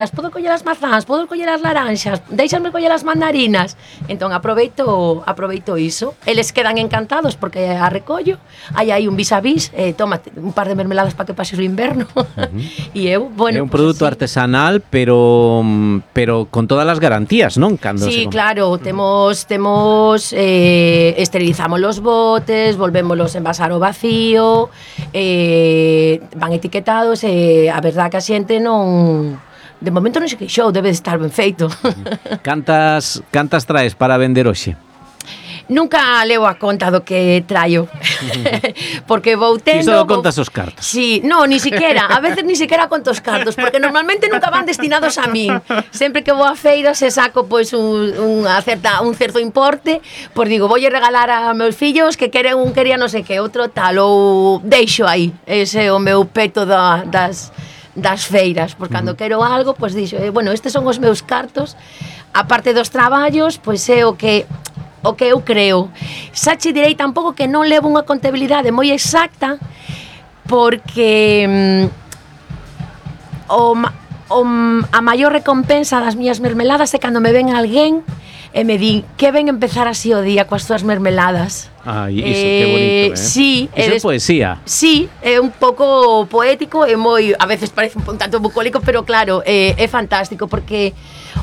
podo coller as mazás, podo coller as laranxas, deixasme coller as mandarinas. Entón aproveito iso. Eles quedan encantados porque a recollo. Hai aí un vis a vis, tómate un par de mermeladas para que pases o inverno. E eu, bueno, é un produto artesanal, pero con todas as garantías, non? Cando sí, claro, temos esterilizamos los botes, volvémolos envasar ao vacío, van etiquetados e a verdad que a xente non... De momento non se queixou, debe de estar ben feito. Cantas traes para vender hoxe? Nunca leo a conta do que traio. Porque vou tendo... Ti só contas os cartos. Sí, no, ni siquiera. A veces ni siquiera conto os cartos, porque normalmente nunca van destinados a min. Sempre que vou a feira se saco pois un certo importe, pois digo, voulle regalar a meus fillos que queren un quería non sei que, outro tal, ou deixo aí. Ese é o meu peto das feiras, porque cando quero algo, pois dixo, bueno, estes son os meus cartos, a parte dos traballos, pois é o que eu creo. Xa che direi tampouco que non levo unha contabilidade moi exacta, porque a maior recompensa das miñas mermeladas é cando me ven alguén e me din que ven empezar así o día coas túas mermeladas. Ai, iso, que bonito, Sí, iso é poesía. Sí, é un pouco poético e moi, a veces parece un tanto bucólico, pero claro, é fantástico porque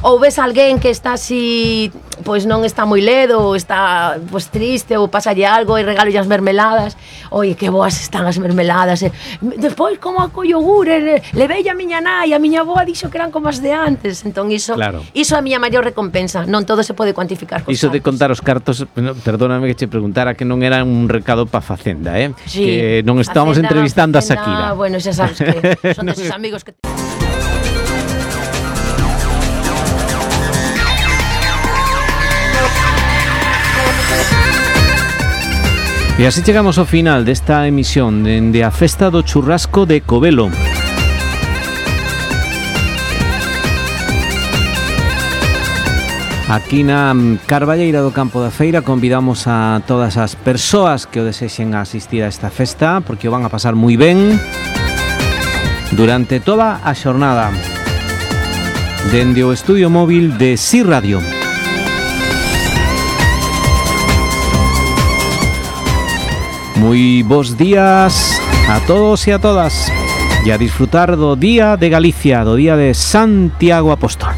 ou ves alguén que está así, pois non está moi ledo, ou está pois triste, ou pasalle algo e regalo as mermeladas. Oi, que boas están as mermeladas. Despois como a co yogur, levei a miña nai, a miña avó dixo que eran como as de antes. Entón iso, claro. Iso é a miña maior recompensa. Non todo se pode cuantificar cos Iso de contar os cartos, perdóname que che preguntara que non era un recado pa Facenda, Sí, que non estamos entrevistando a Shakira. Bueno, xa sabes que son deses amigos que... E así chegamos ao final desta emisión dende a Festa do Churrasco de Covelo. Aquí na Carballeira do Campo da Feira convidamos a todas as persoas que o desexen a asistir a esta festa, porque o van a pasar moi ben durante toda a xornada dende o estudio móvil de Si Radio. Moi bons días a todos e a todas e a disfrutar do Día de Galicia, do Día de Santiago Apóstol.